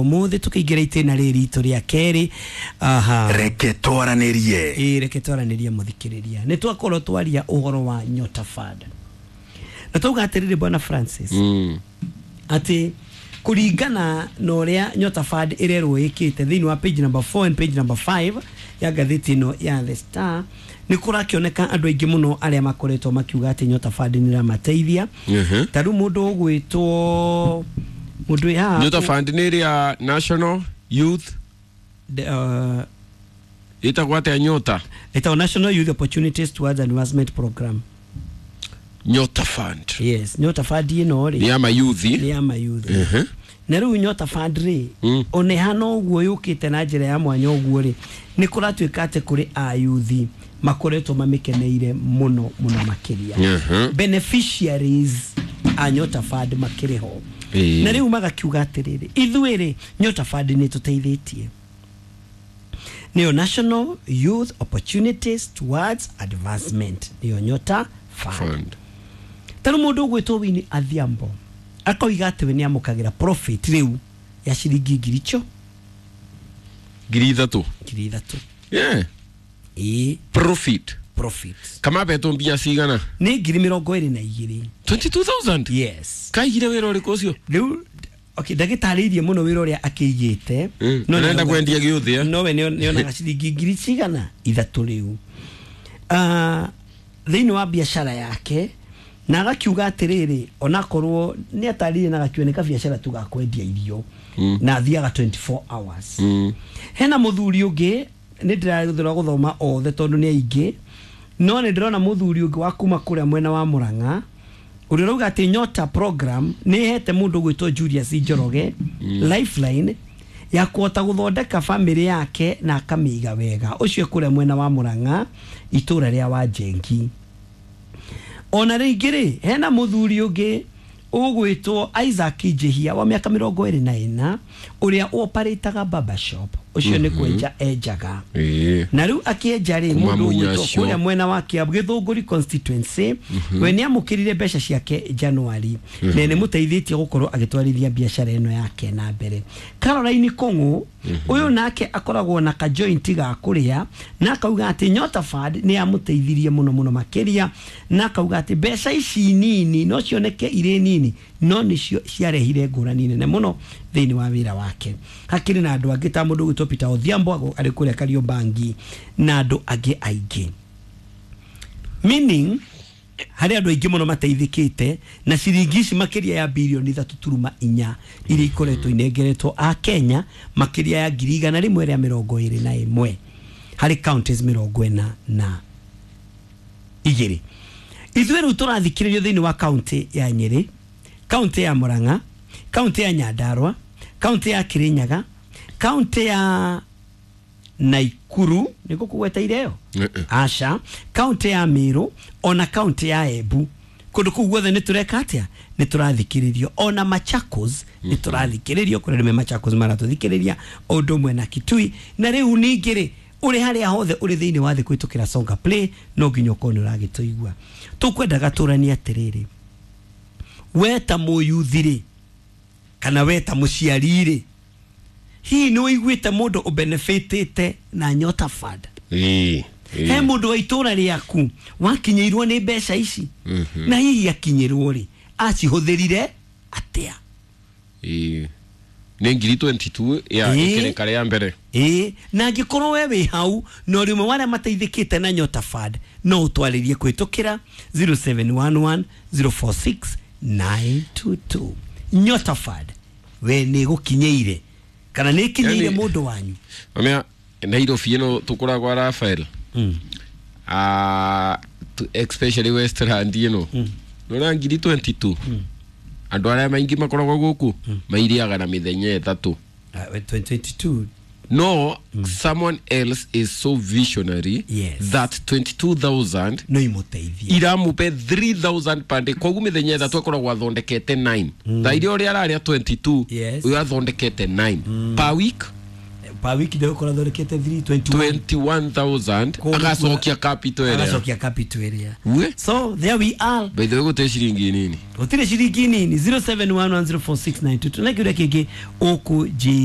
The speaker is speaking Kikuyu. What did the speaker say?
Umuthi tukiingira itena riri itu ria keri. Aha, reke twaranirie. Ĩ, reke twaranirie muthikiriria. Ni twakorwo twaria uhoro wa Nyota Fund na twauga atiriri, bwana Francis, ati kuringana na uria Nyota Fund irerwo ikite thiini wa page number 4 and page number 5 ya ngathĩti ĩno ya The Star, nĩ kũrakĩoneka andũ aingĩ mũno arĩa makoretwo makiuga atĩ Nyota Fund nĩ ĩramateithia. Ta rĩu mũndũ ũgwĩtwo mũndũ wĩ haha. Nyota Fund nĩ ĩrĩa National Youth ĩtagwo atĩa Nyota? Ĩtagwo National Youth Opportunities Towards Advancement Program. Nyota Fund. Yes, Nyota Fund ĩno nĩ rĩ ya mayuthi. Nĩ ya mayuthi. Na rĩu Nyota Fund rĩ, ona ĩhana ũguo yũkĩte na njĩra ya mwanya ũguo rĩ, nĩ kũratuĩka atĩ kũrĩ ayuthi makoretwo mamĩkeneire mũno mũno makĩria. Beneficiaries a Nyota Fund makĩrĩ ho. Na rĩu magakiuga atĩrĩrĩ, ithuĩ rĩ, Nyota Fund nĩ tũteithĩtie, nĩyo National Youth Opportunities Towards Advancement, nĩyo Nyota Fund. Fund. Ta rĩu mũndũ ũgwĩtwo Winnie Adhiambo akoiga atĩ we nĩ amũkagĩra profit rĩu ya ciringi ngiri icio 3,000. 3,000. Ĩĩ. Profit. Profit. Kama betwo mbia cigana? Nĩ 22,000. 22,000. Yes. Kaigire wĩra ũrĩkũ ũcio? Rĩu okay, ndagĩtarĩirie mũno wĩra ũrĩa akĩigĩte. No Arenda nĩauga- kwendia gĩũthĩ, eh? No we nĩonaga ciringi ngiri cigana ithatũ rĩu. Ah, thĩinĩ wa biacara yake, na agakiuga atĩrĩrĩ, onakorwo nĩ atarĩrie na agakiuga nĩ kabiacara tu ga kwendia irio na athiaga 24 hours. Hena mũthuri ũngĩ, nĩ ndĩrathura gũthoma othe tondũ nĩ aingĩ, no nĩ ndĩrona mũthuri ũngĩ wa kuma kũrĩa mwena wa Mũrang'a ũrĩa ũrauga atĩ Nyota program nĩ ĩhete mũndũ ũgwĩtwo Julius Njoroge lifeline ya kũhota gũthondeka famĩlĩ yake na akamĩiga wega. Ũcio kũrĩa mwena wa Mũrang'a, itũra rĩa Wanjengi. Ona rĩngĩ rĩ, hena mũthuri ũngĩ ũgwĩtwo Isaac Njihia wa mĩaka 24 ũrĩa oparĩtaga barber shop. Ũcio nĩ kwenja enjaga. Na rĩu akĩenja rĩ, Kuma mũndũ ũgwĩtwo Mũnyacio. kũrĩa mwena wa Kiambu, Gĩthũngũri constituency, we nĩ amũkĩrire mbeca ciake Januari na nĩ mũteithĩtie gũkorwo agĩtwarithia biacara ĩno yake na mbere. Caroline Kũng'ũ ũyũ nake akoragwo na kajoint ga kũrĩa na akauga atĩ Nyota Fund nĩ yamũteithirie mũno mũno makĩria, na akauga atĩ mbeca ici nini no cioneke irĩ nini, no nĩcio ciarehire ngũrani nene mũno thĩinĩ wa wĩra wake. Hakĩrĩ na andũ angĩ ta mũndũ ũgwĩtwo Peter Odhiambo arĩ kũrĩa Kariobangi na andũ angĩ aingĩ, meaning harĩ andũ aingĩ mũno mateithĩkĩte na ciringi ici makĩria ya 3.4 birioni iria ikoretwo inengeretwo a Kenya makĩria ya 121,000 harĩ counties 42. Ithuĩ rĩu tũrathikĩrĩrio thĩinĩ wa kaunti ya Nyĩrĩ, kaunti ya Murang'a, kaunti ya Nyandarua, kaunti ya Kirinyaga, kaunti ya Naikuru, nĩguo kũgweta ĩyo? Aca, kaunti ya Meru ona kaunti ya Embu. Kũndũ kũu guothe nĩ tũreka atĩa? Nĩ tũrathikĩrĩrio. Ona Machakos nĩ tũrathikĩrĩrio, kũrĩa nĩme Machakos maratũthikĩrĩria, o ũndũ ũmwe na Kitui. Na rĩu ningĩ rĩ, ũrĩ harĩa hothe ũrĩ thĩinĩ wa thĩ kũhĩtũkĩra Songa Play, no nginya ũkorwo nĩ ũragĩtũigua. Tũkwendaga tũranie atĩrĩrĩ, we ta mũyuthi rĩ, kana we ta mũciari rĩ, hihi nĩ ũiguĩte mũndũ ũbenefitĩte na Nyota Fund? He mũndũ wa itũra rĩaku wakinyĩirwo nĩ mbeca ici? Na hihi akinyĩrwo rĩ, acihũthĩrire atĩa? Ĩĩ. Nĩ 22,000 ya ĩkĩrĩka rĩa mbere. Ĩĩ, na angĩkorwo we wĩ hau na ũrĩ ũmwe wa arĩa mateithĩkĩte na Nyota Fund, no ũtwarĩrie kũhĩtũkĩra 0711 046 922. Nyota Fund, we nĩ ĩgũkinyĩire kana nĩ ĩkinyĩire mũndũ wanyu? Mamea Nairobi ĩno tũkoragwo Rafael. Ah, especially Westland ĩno. Nona 22,000. Andũ arĩa maingĩ makoragwo gũkũ mairiaga na mĩthenya 3. Ah, 2022. No, someone else is so visionary that 22,000 no imũteithie. Iramupe 3000 per day, koguo mĩthenya 3 akoragwo athondekete 9. Thaa iria ũrĩa ararĩa 22, ũyũ athondekete 9 per week. Per week ndegũkorwo athondekete 321. 21,000. Kũu Agacokia capital ĩrĩa. Agacokia capital ĩrĩa. We. So there we are. By the way, gũtirĩ ciringi nini. Gũtirĩ ciringi nini. 0711046922 na kĩũria kĩngĩ ũkũnjĩra.